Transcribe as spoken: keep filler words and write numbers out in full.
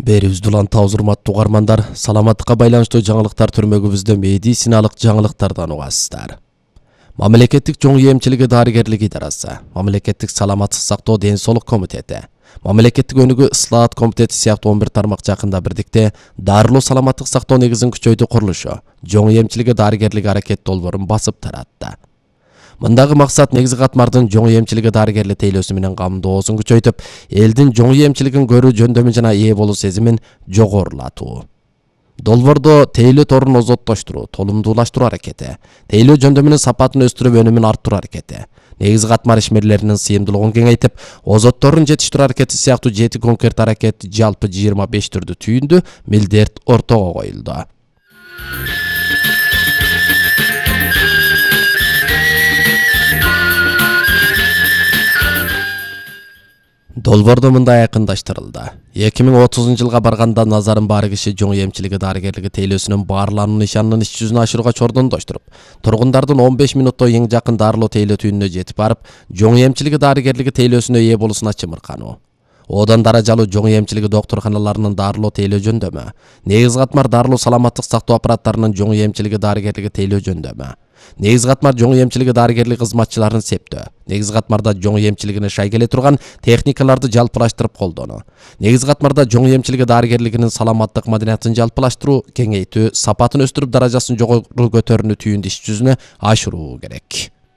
Берүүбүздү улантабыз урматтуу угармандар. Саламаттыкка байланыштуу жаңылыктар түрмөгүбүздө медициналык жаңылыктардан угасыздар. Мамлекеттик жоң эмчилиги дарыгерлик идарасы, Мамлекеттик саламаттык сактоо ден соолук комитети, Мамлекеттик өнүгүү ыслаат комитети сыяктуу он бир тармак жакында бирдикте дарылоо саламаттык сактоо негизин күчөйдүү курулушу, жоң эмчилиги дарыгерлик аракет долбоорун басып таратты. Мындагы максат негизи катмардын жоң эмчилиги дарыгерлик тейлөөсү менен камдоосун күчөйтүп, элдин жоң эмчилигин көрүү жөндөмү жана ээ болуу сезимин жогорулатуу. Долбоордо тейлөө торун озоттоштуруу, толумдуулаштыруу аракети, тейлөө жөндөмүнүн сапатын өстүрүп өнүмүн арттыруу аракети, негизи катмар ишмерлеринин сыйымдуулугун кеңейтип, озотторун жетиштирүү аракети сыяктуу жети конкрет аракет жалпы жыйырма беш түрдүү түйүндү милдет ортого коюлду. Долбоордо мындай айкындаштырылды. эки миң отузунчу жылга барганда назарын баары киши жоң эмчилиги дарыгерлиги тейлөөсүнүн баарлануу нишанынын иш жүзүн ашырууга чордондоштуруп, тургундардын он беш минутто эң жакын дарылоо тейлөө түйүнүнө жетип барып, жоң эмчилиги дарыгерлиги тейлөөсүнө ээ болуусуна чымыркануу. Одан даражалуу жоң эмчилиги доктурканаларынын дарылоо тейлөө жөндөмү, негизи катмар дарылоо саламаттык сактоо аппараттарынын жоң эмчилиги дарыгерлиги тейлөө жөндөмү, негизи катмар жоң эмчилиги дарыгерлик кызматчыларын септөө, негизи катмарда жоң эмчилигине шай келе турган техникаларды жалпылаштырып колдонуу, негизи катмарда жоң эмчилиги дарыгерлигинин саламаттык маданиятын жалпылаштыруу, кеңейтүү, сапатын өстүрүп даражасын жогору көтөрүүнү түйүндү иш жүзүнө ашыруу керек.